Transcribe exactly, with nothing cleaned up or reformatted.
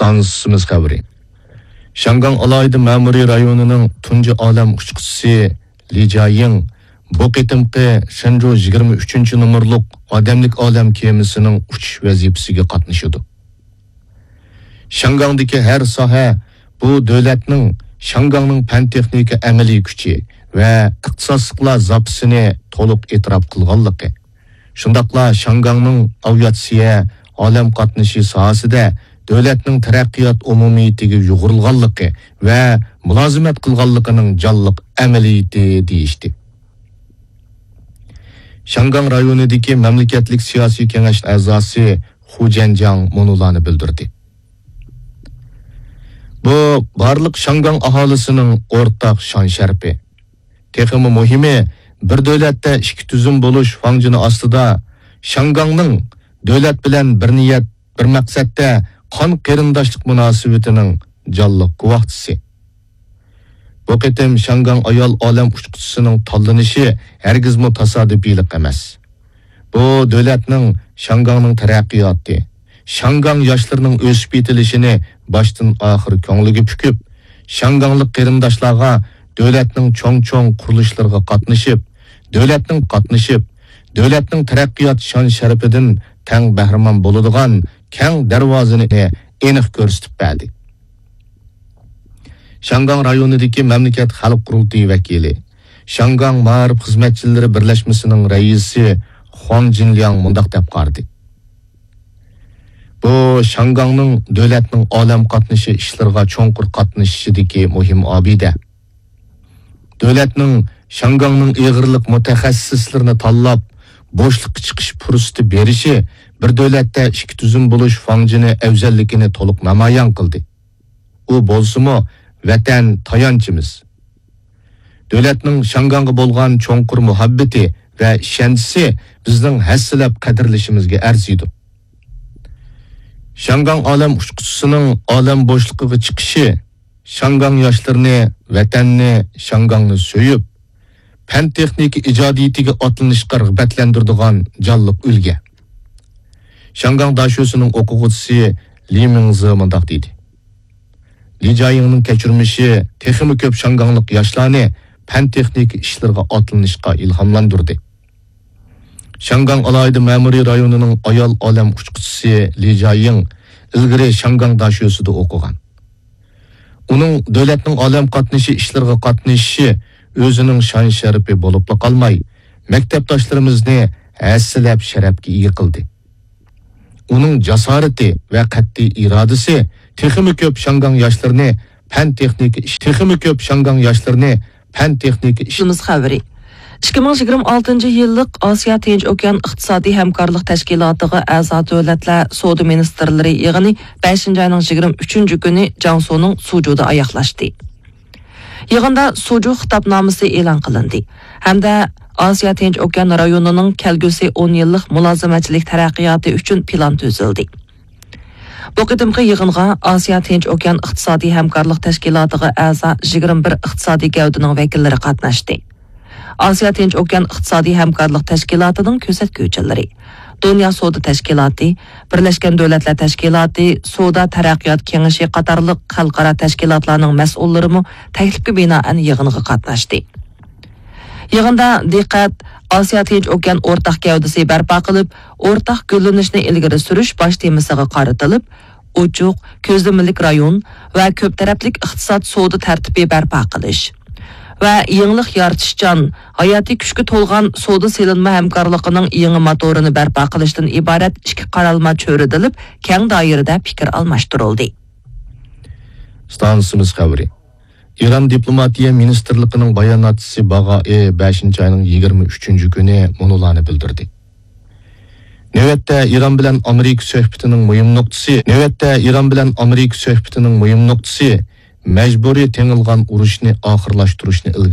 ئىستانسىمىز خەۋىرى. شياڭگاڭ ئالاھىدە مەمۇرىي رايونىنىڭ تۇنجى ئالەم ئۇچقۇچىسى لى جياڭ بۇ قېتىمقى شېنجۇ يىگىرمە ئۈچىنچى نومۇرلۇق ئادەملىك ئالەم كېمىسىنىڭ ئۇچۇش ۋەزىپىسىگە قاتنىشىدۇ. شياڭگاڭدىكى ھەر ساھە بۇ دۆلەتنىڭ، شياڭگاڭنىڭ پەن-تېخنىكا ئەمەلىي كۈچى ۋە ئىختىساسلىقلار زاپىسىنى تولۇق ئېتىراپ قىلغانلىقى، شۇنداقلا شياڭگاڭنىڭ ئاۋىئاتسىيە، ئالەم قاتنىشى ساھەسىدە دۆلەتنىڭ تەرەققىيات ئومۇمىيىتىگە يۇغۇرۇلغانلىقى ۋە مۇلازىمەت قىلغانلىقىنىڭ جانلىق ئەمەلىيىتى دېيىشتى. شياڭگاڭ رايونىدىكى مەملىكەتلىك سىياسىي كېڭەش ئەزاسى خۇ جيەنجياڭ مۇنۇلارنى بىلدۈردى. بۇ بارلىق شياڭگاڭ ئاھالىسىنىڭ ئورتاق شان-شەرىپى. تېخىمۇ مۇھىمى، بىر دۆلەتتە ئىككى تۈزۈم بولۇش فاڭجېنى ئاستىدا شياڭگاڭنىڭ دۆلەت بىلەن بىر نىيەت، بىر مەقسەتتە قان قېرىنداشلىق مۇناسىۋىتىنىڭ جانلىق گۇۋاھچىسى. بۇ قېتىم شياڭگاڭ ئايال ئالەم ئۇچقۇچىسىنىڭ تاللىنىشى ھەرگىزمۇ تاسادىپىيلىق ئەمەس. بۇ دۆلەتنىڭ، شياڭگاڭنىڭ تەرەققىياتى، شياڭگاڭ ياشلىرىنىڭ ئۆسۈپ يېتىلىشىنى باشتىن ئاخىر كۆڭلىگە پۈكۈپ، شياڭگاڭلىق قېرىنداشلارغا دۆلەتنىڭ چوڭ-چوڭ قۇرۇلۇشلىرىغا قاتنىشىپ، دۆلەتنىڭ قاتنىشىپ، دۆلەتنىڭ تەرەققىيات شان-شەرىپىدىن تەڭ بەھرىمەن بولىدىغان كەڭ دەرۋازىنى ئېنىق كۆرسىتىپ بەردى. شياڭگاڭ رايونىدىكى مەملىكەت خەلق قۇرۇلتىيى ۋەكىلى، شياڭگاڭ مائارىپ خىزمەتچىلىرى بىرلەشمىسىنىڭ رەئىسى خۇاڭ جىنلياڭ مۇنداق دەپ قارىدى: بۇ شياڭگاڭنىڭ دۆلەتنىڭ ئالەم قاتنىشى ئىشلىرىغا چوڭقۇر قاتنىشىشىدىكى مۇھىم ئابىدە. دۆلەتنىڭ شياڭگاڭنىڭ ئېغىرلىق مۇتەخەسسىسلىرىنى تاللاپ، بوشلۇققا چىقىش پۇرسىتى بېرىشى بىر دۆلەتتە ئىككى تۈزۈم بولۇش فاڭجېنى ئەۋزەللىكىنى تولۇق نامايان قىلدى. ئۇ بولسىمۇ ۋەتەن تايانچىمىز. دۆلەتنىڭ شياڭگاڭغا بولغان چوڭقۇر مۇھەببىتى ۋە ئىشەنچىسى بىزنىڭ ھەسسىلەپ قەدىرلىشىمىزگە ئەرزىيدۇ. شياڭگاڭ ئالەم ئۇچقۇچىسىنىڭ ئالەم بوشلۇقىغا چىقىشى شياڭگاڭ ياشلىرىنى، ۋەتەننى، شياڭگاڭنى سۆيۈپ، پەن-تېخنىكا ئىجادىيىتىگە ئاتلىنىشقا رىغبەتلەندۈرىدىغان جانلىق ئۈلگە. شياڭگاڭ داشۆسىنىڭ ئوقۇغۇچىسى لى مىڭزې مۇنداق دېدى: لى جياڭنىڭ كەچۈرمىشى تېخىمۇ كۆپ شياڭگاڭلىق ياشلارنى پەن-تېخنىكا ئىشلىرىغا ئاتلىنىشقا ئىلھاملاندۇردى. شياڭگاڭ ئالاھىدە مەمۇرىي رايونىنىڭ ئايال ئالەم ئۇچقۇچىسى لى جياڭ ئىلگىرى شياڭگاڭ داشۆسىدە ئوقۇغان. ئۇنىڭ دۆلەتنىڭ ئالەم قاتنىشى ئىشلىرىغا قاتنىشىشى ئۆزىنىڭ شان-شەرىپى بولۇپلا قالماي، مەكتەپداشلىرىمىزنى ھەسسىلەپ شەرەپكە ئىگە قىلدى. ئۇنىڭ جاسارىتى ۋە قەتئىي ئىرادىسى تېخىمۇ كۆپ شياڭگاڭ ياشلىرىنى پەن-تېخنىكا ئىش-، تېخىمۇ كۆپ شياڭگاڭ ياشلىرىنى پەن-تېخنىكا ئىش- ئىككى مىڭ يىگىرمە ئالتىنچى يىللىق ئاسىيا تىنچ ئوكيان ئىقتىسادىي ھەمكارلىق تەشكىلاتىغا ئەزا دۆلەتلەر سودا مىنىستىرلىرى يىغىنى بەشىنچى ئاينىڭ يىگىرمە ئۈچىنچى كۈنى جياڭسۇنىڭ سۇجۇدا ئاياغلاشتى. يىغىندا سۇجۇ خىتابنامىسى ئېلان قىلىندى ھەمدە ئاسىيا تىنچ ئوكيان رايونىنىڭ كەلگۈسى ئون يىللىق مۇلازىمەتچىلىك تەرەققىياتى ئۈچۈن پىلان تۈزۈلدى. بۇ قېتىمقى يىغىنغا ئاسىيا تىنچ ئوكيان ئىقتىسادىي ھەمكارلىق تەشكىلاتىغا ئەزا يىگىرمە بىر ئىقتىسادىي گەۋدىنىڭ ۋەكىللىرى قاتناشتى. ئاسىيا تىنچ ئوكيان ئىقتىسادىي ھەمكارلىق تەشكىلاتىنىڭ كۆرسەتكۈچىلىرى، دۇنيا سودا تەشكىلاتى، بىرلەشكەن دۆلەتلەر تەشكىلاتى، سودا تەرەققىيات كېڭىشى قاتارلىق خەلقئارا تەشكىلاتلارنىڭ مەسئۇللىرىمۇ تەكلىپكە بىنائەن يىغىنغا قاتناشتى. يىغىندا دىققەت ئاسىيا تىنچ ئوكيان ئورتاق گەۋدىسى بەرپا قىلىپ، ئورتاق گۈللىنىشنى ئىلگىرى سۈرۈش باش تېمىسىغا قارىتىلىپ، ئوچۇق، كۆزلىمىلىك رايون ۋە كۆپ تەرەپلىك ئىقتىساد سودا تەرتىپى بەرپا قىلىش ۋە يېڭىلىق يارىتىشچان، ھاياتىي كۈچكە تولغان سودا سېلىنما ھەمكارلىقىنىڭ يېڭى موتورىنى بەرپا قىلىشتىن ئىبارەت ئىككى قارالما چۆرىدىلىپ، كەڭ دائىرىدە پىكىر ئالماشتۇرۇلدى. ئىستانسىمىز خەۋىرى. ئىران دىپلوماتىيە مىنىستىرلىقىنىڭ باياناتچىسى باغائى بەشىنچى ئاينىڭ يىگىرمە ئۈچىنچى كۈنى مۇنۇلارنى بىلدۈردى. نۆۋەتتە ئىران بىلەن ئامېرىكا سۆھبىتىنىڭ مۇھىم نۇقتىسى، نۆۋەتتە ئىران بىلەن ئامېرىكا سۆھبىتىنىڭ مۇھىم نۇقتىسى مەجبۇرىي تېڭىلغان ئۇرۇشنى ئاخىرلاشتۇرۇشنى ئىلگىرى